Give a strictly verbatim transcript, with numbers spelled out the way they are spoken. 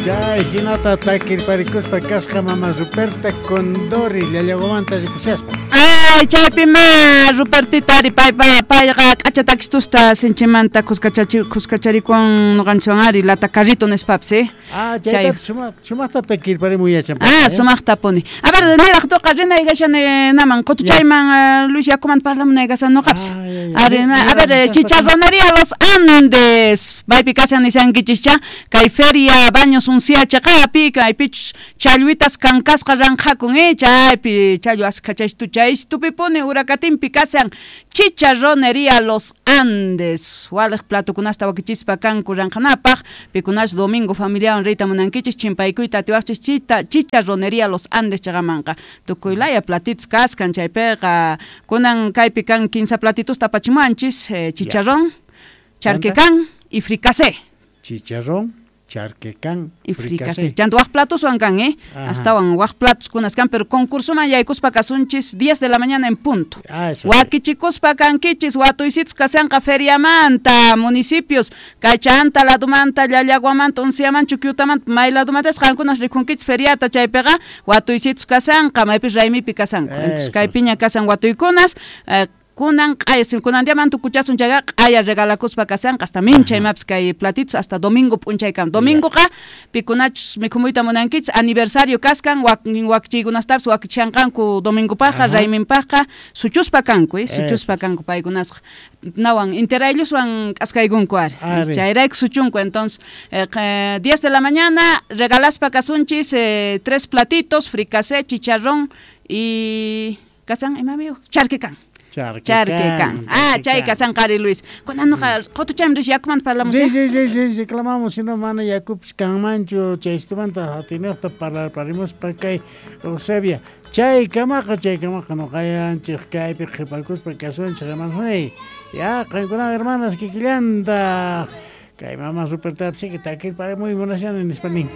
Chay hinata takirparikuspa kasqa mama Ruperta Condori Llallaguamanta rikushaspa. Ay, chaypima Rupertita ari paypa payqa k'acha takistusta sinchimanta kuskachachi kuskacharikuwan nuqanchikwan ari lata carrito nispapis, eh. Ah, Chay. chaytapis sumaq sumaqta takirparimuy yachan. Ah, sumaqtapuni. A ver, niraq tuqa rinaygashan naman qutuchayman eh, Luis yakuman parlamunaygashan nuqapis. Ah, ya, ya. Ari, na- a ver, eh, chicharronería Los Andes. Maypi kashan nishankichis kay feria Baños Uncia chaqapi, kaypichus challwitas kankasqa ranqhakun, eh, chaypi challwa askha chaystu chaystupipuni urakatinpi kashan chicharronería Los Andes. Waliq platukunasta wakichispa kanku ranqhanapaq, pikunash domingo familiawan riyta munankichis chimpaykuyta atiwaqchis chita chicharronería Los Andes chaqamanqa. Tukuy laya platitos kaskan chaypiqa kunan kaypi kan kinsa platitusta apachimuanchis, eh, chicharrón, charquecán y fricasé. Chicharrón, charquecán, Y fricasé. Chanta waj platuswan kan, eh? Ajá. Astawan waj platos kunas kan, pero concursoman yaykuspa kasunchis diez de la mañana en punto. Ah, eso. Wakichikuspa kankichis watuysitus kasanqa feriamanta, municipios, kay chanta ladumanta, Llallaguamanta, Unciamanta, Chuquiutamanta, may ladumantas qankunas rikunkichis feriata chaypiqa watuysitus kasanqa, maypis raymipi kasanku. Entonces Eso. kaypiña kasan watuykunas, eh, kunan q'aya kunan diaman tukuchasun chayqa q'aya regalakuspa kasanqa hasta mincha imapis kay platitos hasta domingo p'unchaykama. Domingoqa pikunachus mikhumuyta munankichis aniversario kaskan wak wakchiykunastapis wakichanqanku domingopaqqa Ajá. rayminpaqqa suchuspa kanku, eh, Eso. suchuspa kanku paykunasqa nawan interaylluswan k'askaykunku ari. Ari. Chayrayku suchunku entonces eh, qe- diez de la mañana regalaspa kasunchis eh, tres platitos fricasé, chicharrón y kasan imami charquecán. Charquecán. Charquecán. Ah, chay kasan qari Luis. Kunan nuqa qutuchaymi rish yakumanta parlamus. Sí, eh? sí, sí, sí, reclamamos, si no mana yakupis kanmanchu chaystumanta atinaqta parlarparimuspa kay Eusebia. Chay kamaqa, chay kamaqa nuqayanchik kaypi qhipakuspa kasunchik hermanos. Ya, qankuna hermanas kikillanta. Kay mama Ruperta que takirparimuy munashani nispa nin.